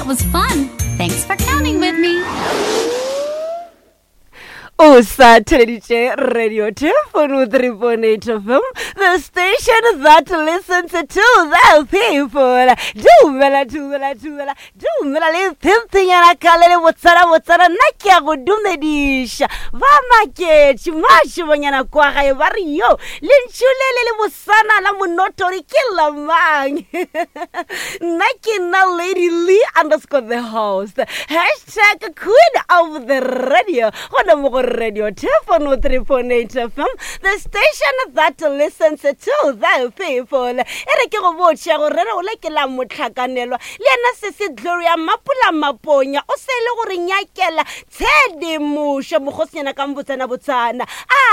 That was fun. Thanks for counting with me. O sa theleditše Radio Telefono 3.8 FM, the station that listens to the people. Dumela, dumela, dumela, dumela le phemphenyana ka le le botsana botsana nna ke a go dumediša. Ba maketše mašobanyana kwa gae ba re yo lentšu le le le bosana la monotori ke la mang? Nna ke nna Lady Lee underscore the host. Hashtag queen of the radio gona mo go Radio Telefono 3.8 FM, the station that listens to the people. E re ke go botše gore re ole ke la motlhakanelwa le yena sese Gloria Mapula Maponya o se le gore nyakela tshedimošo mokgosinyana ka mbotsana botsana.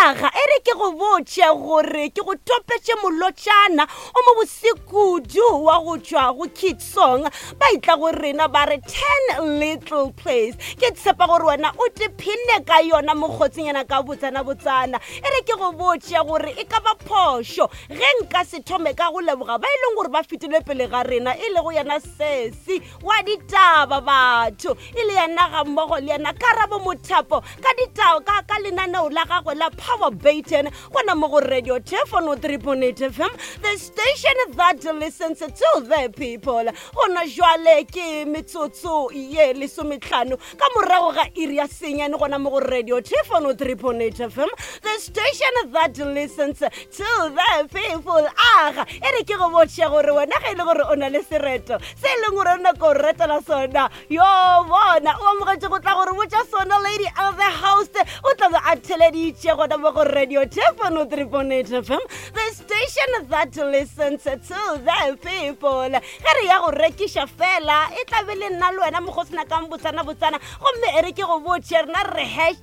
Aga e re ke go botše gore ke go topetše molotšana o mo bosekudu wa go tšwa go Kid Song ba itla go rena ba re 10 little place. Ke tshepa gore wena o tephenne ka yona mokgotsinyana ka botsana botsana. E re ke go botše gore e ka ba phošo ge nka se thome ka go leboga ba e leng gore ba fetile pele ga rena, e lego yena sesi wa ditaba batho, e le yena ga mmogo le yena Karabo Mothapo ka ditaba ka, ka lenaneo la gagwe la Power Baton gona mo go Radio Telefono 3.8 FM, the station that listens to the people. Gona jwale ke metsotso ye lesometlhano ka morago ga iri ya senyane gona mo go Radio Telefono 3.8 FM, the station that listens to the people. Aga e re ke go botše gore wena ge e le gore o na le sereto se e leng gore o nako o retela sona, yo bona o amogetše go tla gore botša sona. Lady of the host o tla be a theleditše gona mo go Radio Telefono 3.8 FM, the station that listens to the people. Ge re ya go rekiša fela e tla be le nna le wena mokgosina ka botsana botsana, gomme e re ke go botše rena re hashtag